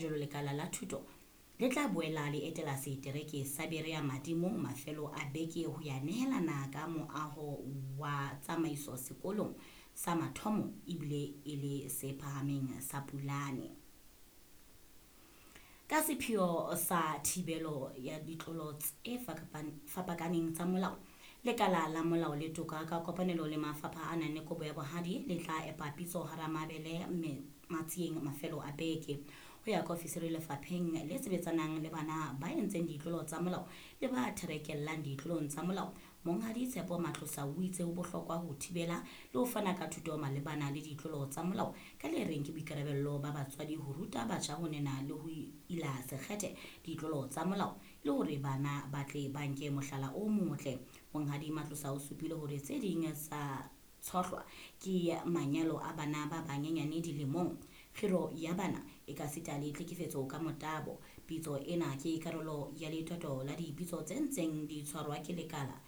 Jwalo lekala la thuto le tla boela le etela setereke sa Berea Madimong mafelo a beke ho ya nehelana ka moaho wa tsamaiso sekolong sa mathomo ebile e le se phahameng sa Pulane. Ka sepheo sa thibelo ya ditlolo tse fapakaneng tsa molao, lekala la molao le toka ka kopanelo le mafapha a nang le kobo ya bohadi le tla epa pitso hara mabele Matsieng mafelo a beke. Ho ya ka ofisiri lefapheng le sebetsanang le bana ba entseng ditlolo tsa molao le ba therekellang ditlolong tsa molao, Monghadi Tshepo Matlosa o itse ho bohlokwa ho thibela le ho fana ka thuto malebana le ditlolo tsa molao ka le reng ke boikarabello ba batswadi ho ruta batjha ho nena le ho ila sekgethe ditlolo tsa molao e le hore bana ba tle ba nke mohlala o motle. Monghadi Matlosa o supile hore tse ding tsa tshohlwa ke manyalo a bana ba banyenyane dilemong, kgiro ya bana ekasita le tlhekefetso ka motabo. Pitso ena ke karolo ya letoto la dipitso tse ntseng di tshwarwa ke lekala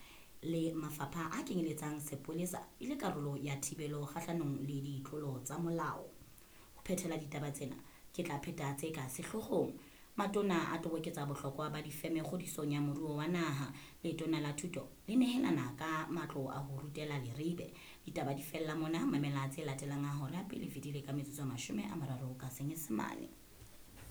le mafapha a kenyeletsang sepolesa e le karolo ya thibelo kgahlanong le ditlolo tsa molao. Ho phethela ditaba tsena, ke tla pheta tse ka sehloohong. Matona a toboketsa bohlokwa ba difeme kgodisong ya moruo wa naha. Letona la thuto le nehelana ka matlo a ho rutela Leribe. Ditaba di fella mona, mamela tse latelang ha hora pele fetile ka metsotso 30 ka Senyesemane.